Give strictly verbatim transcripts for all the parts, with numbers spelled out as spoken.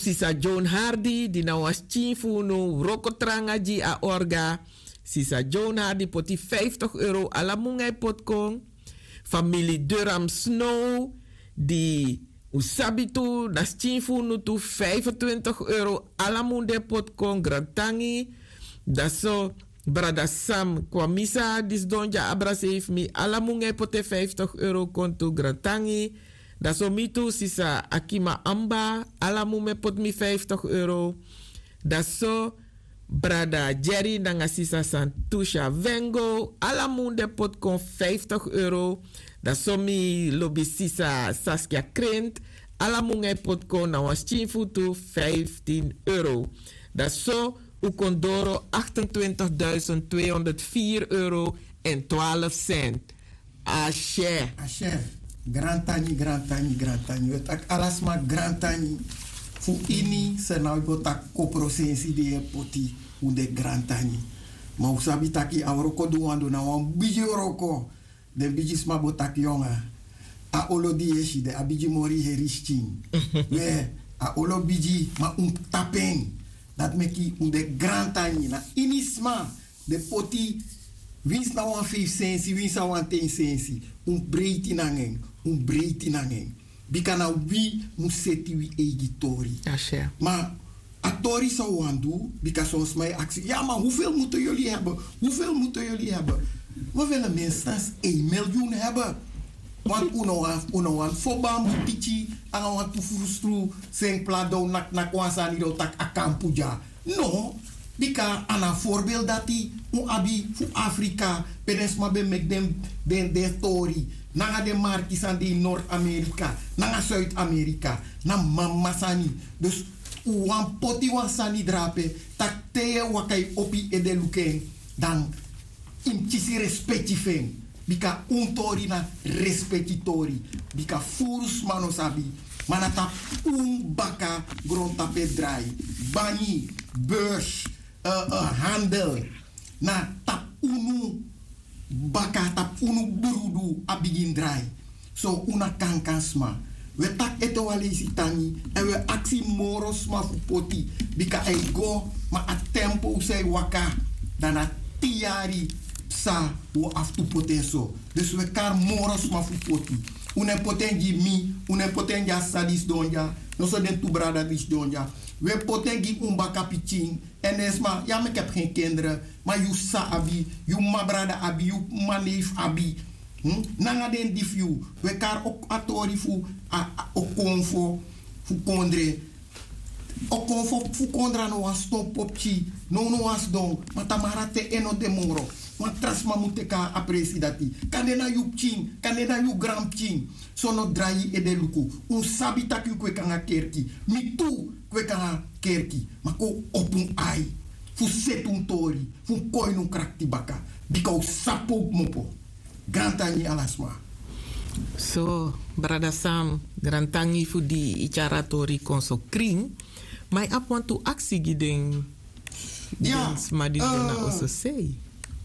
Sisa joan hardi di na wan skin fu unu wroko tranga gi a orga. Sisa joan hardi poti vijftig euro ala mun ngai poti kon. Famili duram snow di un sabi tu na skin fu unu tu vijfentwintig euro ala mun den poti kon grantangi. Dan so brada sam kwamisa di sidon gi a abra seif mi ala mun ngai poti en vijftig euro kon tu grantangi. Dan so mi tu sisa akima amba ala mun me poti mi vijftig euro. Dan so brada jerry nanga sisa santusha vengo ala mun den poti kon vijftig euro. Dan so mi lobi sisa saskia krent ala mun ngai poti kon na wan skin fu tu vijftin euro. Dan so un kon doro achtentwintigduizend tweehonderdvier euro en twaalf cent. Ashe. Ashe. Grantangi, grantangi, grantangi. We taki ala sma grantangi. Fu ini sernau bo taki koprosensi di e poti un de grantangi. Ma un sabi taki a wroko di un wan du na wan bigi wroko. Den bigi sma bo taki yonga, a olo di yesi de a bigi mori heri skin. We a olo bigi ma un tapu en. Dati meki un de grantangi na ini sma. Den poti winsi na wan feifi sensi winsi na wan ten sensi. Un breiti nanga en. Un breiti nanga en. Bika na wi mus seti wi eigi tori. Ma a tori san un wani du. Bika son sma e aksi ya ma hufel mutu yuli hebe? Hufel mutu yuli hebe? We wele minstens ein milyun hebe. Want un no wani foba mus piki nanga wan tu frustru. Sen pla don naknak wan sani don taki a kampu dya. No. Bika a na a forbel dati un abi fu afrika pe den sma ben meki den tori nanga den marki san de ini nord-amerika nanga suid-amerika. Na mama sani. Dus un wani poti wan sani drape tak' te yu e waka yu opo yu ede luku en dan yu mus kisi respeki fu en. Bika un tori na respeki tori. Bika furu sma no sabi ma na tapu un baka grontapu e drai. Banyi, beurs, handel na tapu unu baka tapu unu brudu a bigin drai. So un na kankan sma. Wi e taki ete wan leisi tangi èn wi e aksi moro sma fu poti. Bika a e go ma a tempo san e waka dan na tin yari psa. Wi o abi tu poti en so. Dus wi e kari moro sma fu poti. Un no e poti en gi mi. Un no e poti en gi a sisa di sidon dya. Noso den tu brada di sidon dya. Wi e poti en gi un baka pikin. Èn den sma ya meki abi gen kendere. Ma yu sisa abi, yu mama brada abi, yu mama neifi abi. Nanga den di fu yu. Wi e kari a tori fu okonfo fu kondre. Okonfo fu kondre a no wan sidon popki. Nownow a sidon ma tamara te en no de moro. Wan tra sma mu teki a presi dati. Kande na yu pikin, kande na yu granpikin. So no drai yu ede luku. Un sabi tak' yu kweki nanga kerki. Mi tu kweki nanga kerki. Ma kon opo un ai fu seti un tori fu un kon ini un krakti baka. Bika un sabi pe un kmopo. Grantangi ala sma. So brada sam, grantangi fu di yu tyari a tori kon so krin. Ma yu abi wantu aksi gi den sma di de na oso sei.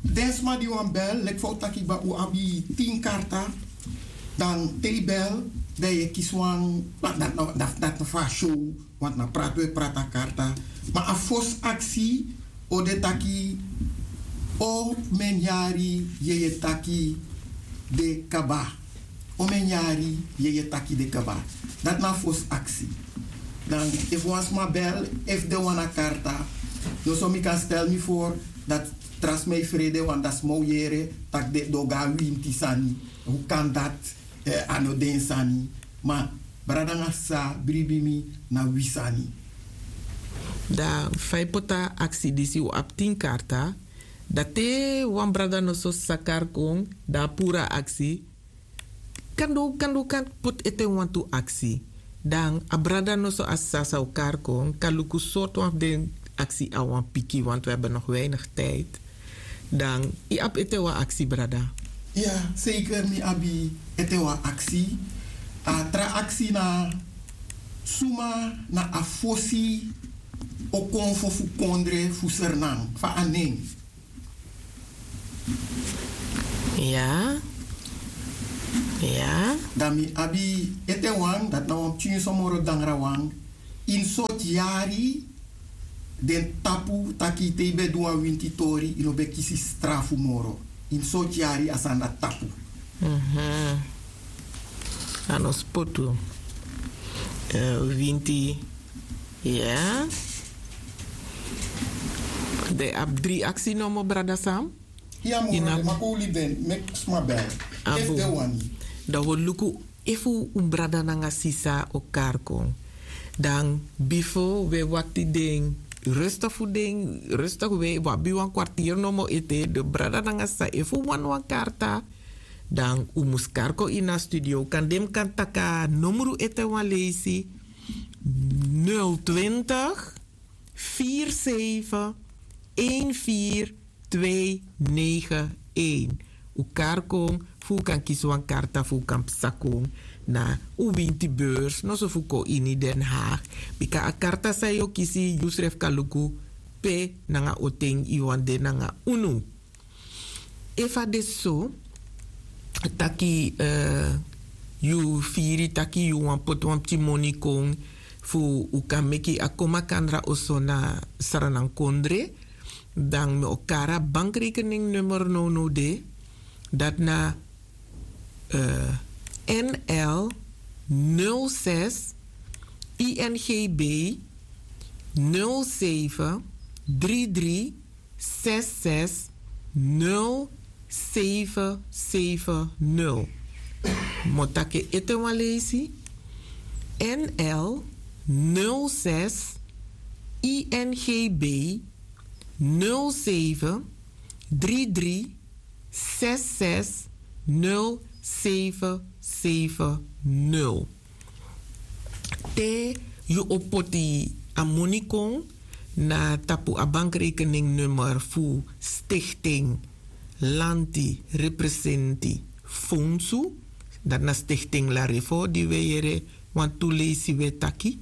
Den sma di wani bel leki fa un taki kba un abi tin karta. Dan te yu bel dan yu e kisi wan dati na fu a show. Want na prati wi e prati a karta. Ma a fosi aksi o de taki o men yari yeye taki de kaba? O men yari yeye taki de kaba? Dati na a fosi aksi. Dan efu wan sma bel efu den wani a karta, noso mi kan stel mi for dati tra sma e frede wan dati sma o yere tak' den o go na winti sani. Hu kan dati? A no den sani. Ma brada nanga sisa bribi mi na wi sani. Dan fa yu poti a aksi disi un abi tin karta. Dan te wan brada noso sisa kari kon dan a puru a aksi. Kande un kan poti ete wantu aksi. Dan a brada noso a sisa san un kari kon kan luku sortu wan fu den aksi a wan piki want wi abi no weinig tijdi. Dan yu abi ete wan aksi brada? Ya, seiker mi abi ete wan aksi. A tra aksi na suma na a fosi okonfo fu kondre fu sernan fa a nen? Ya. Ya. Dan mi abi ete wan dati na wan pikin somoro dangra wan. Ini sortu yari den tapu taki te yu ben du wan winti tori yu no ben kisi strafu moro. Ini sortu yari a sani dati tapu. A no spotu. Winti. Ya. Den abi dri aksi nomo brada sam. Ya moro den makoli ben meki sma ben efu den wani. Dan wi o luku efu un brada nanga sisa o kari kon. Dan bifo wi e wakti den, rustig fu den, rustig wi abi wan kwartiri nomo ete de brada nanga sisa efu un wani wan karta. Dan un mus kari kon ini a studio kan den mi kan taki a nomru ete wan leisi. Nul twintig vier zeven een vier twee negen een. Un kari kon fu un kan kisi wan karta fu un kan psa kon na un winti beurs noso fu kon ini den haag. Bika a karta san yu o kisi yu srefi kan luku pe nanga oten yu wani de nanga unu. Efu a de so taki yu firi taki yu wani poti wan pikin moni kon fu un kan meki a kon makandra oso na sranankondre, dan mi o kari a bankrekening nummer nownow de. Dati na nl nul zes ingb nul zeven drie drie zes zes nul zeven zeven nul. Mi o taki en ete wan leisi. Nl nul zes ingb nul zeven drie drie zes zes nul zeven zeven nul. Te yu o poti a moni kon na tapu a bankrekening nummer fu stichting lanti representi fonsu, dati na stichting larifo di wi e yere wantu leisi wi e taki.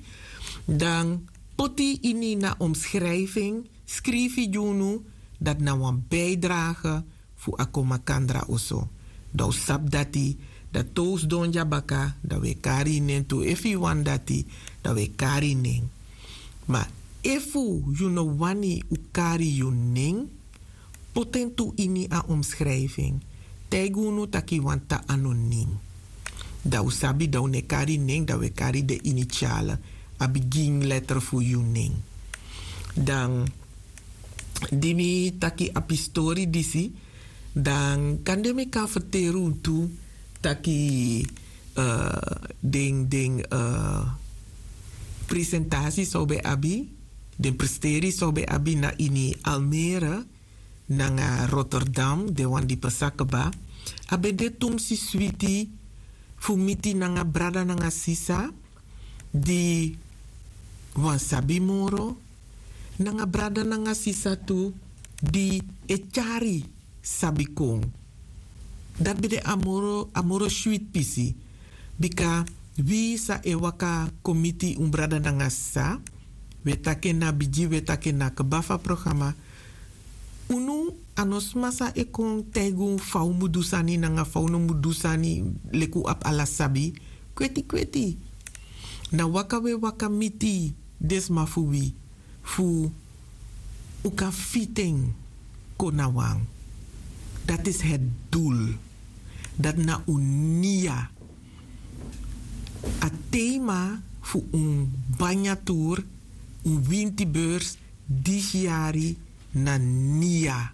Dan poti ini na omskrifing skrifi gi unu dati na wan bijdrage fu a kon makandra oso. Dan un sabi dati dati te un sidon dya baka dan un e kari yu nen tu efu yu wani dati dan un e kari yu nen. Ma efu yu no wani un kari yu nen, poti en tu ini a omskrifing. Taigi unu tak' yu wani tan anonim. Dan un sabi dan un no e kari yu nen dan un e kari den initiale, a bigin letter fu yu nen. Dan di mi taki a pistori disi, dan kande mi kan ferteri unu tu taki den den presentasi san un ben abi, den presteri san un ben abi na ini almere nanga rotterdam, den wan di pasa kba. A ben de tumsi switi fu miti nanga brada nanga sisa di wani sabi moro, nanga brada nanga sisa tu di e tyari sabi kon. Dati ben de a moro a moro switi pisi. Bika wi san e waka kon miti un brada nanga sisa, wi e taki en na bigi wi e taki en na kba fu a programa. Unu a no sma san e kon taigi unu fa un mus du sani nanga fa un no mus du sani. Leki un abi ala sabi kweti kweti. Na waka un e waka miti den sma fu wi fu un kan fiti en kon na wan. Dati isi het dul. Dati na un nia. A tema fu un banya tur, un winti beurs disi yari na nia.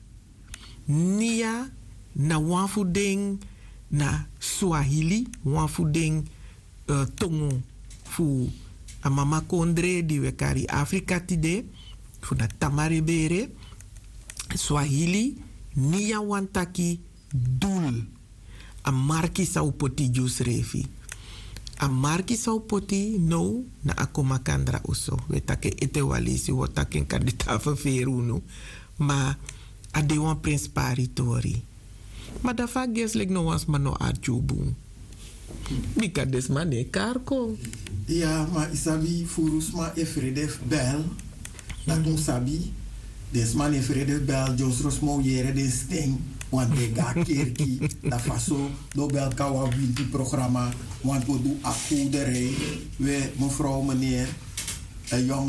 Nia na wan fu den na swahili, wan fu den tongo fu a mama kondre di wi e kari afrika tide, fu na tamarebere. Swahili, nia wani taki dul. A marki san un poti gi unsrefi. A marki san un poti now na a kon makandra oso. Wi e taki en ete wan leisi wi o taki en kandida ferferi unu. Ma a de wan prenspari tori. Ma dan fa a gesi leki no wan sma no arki un bun? Bika den sma no e kari kon. Ya ma yu sabi furu sma e frede fu bel. Dati un sabi. Den sma no e frede fu bel dyosro sma o yere den sten. Wantu den go na kerki. Dan faso den o bel kon na wan winti programa. Wantu o du a kowderei. We mefrow meneri. dan yu a